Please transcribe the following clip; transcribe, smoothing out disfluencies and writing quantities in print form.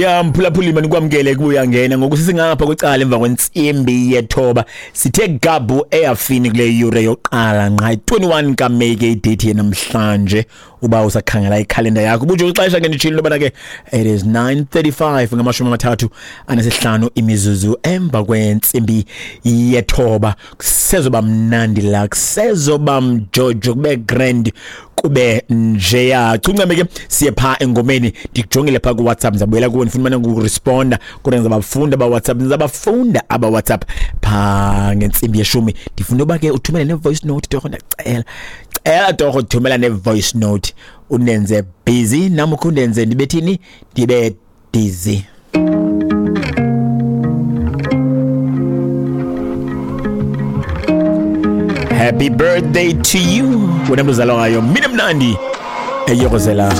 Ya mphulaphuli, manikwamkele kubuya ngena ngoku sisingapha kwicala emva kwentsimbi yethoba. Sithe gabu eyafini kule yure yokuqala nqa 21 kaMeyi ke idate yenamhlanje. Uba usakhangela ikhalenda yakho bujo ixesha ke nditshilo into yobana ke it is 9:35, 35 imizuzu emva kwentsimbi yethoba. Kusezoba mnandi la, kusezoba mjojo, kube grand, kube njeya. Chuncame ke siye pha engomeni. Ndikujongile pha ku-WhatsApp, ndizabuyela kuwe, ndifuna umane ukuresponda, kodwa ndizabafunda aba-WhatsApp, ndizabafunda aba-WhatsApp pha ngentsimbi yeshumi. Ndifuna uba ke uthumele ne-voice note torho, ndiyacela, cela torho, thumela ne-voice note, undenze busy nam, ukhe undenze ndibethini, ndibe dizzy. Happy birthday to you wena mntu uzalwa ngayo mina mnandi eyokozela.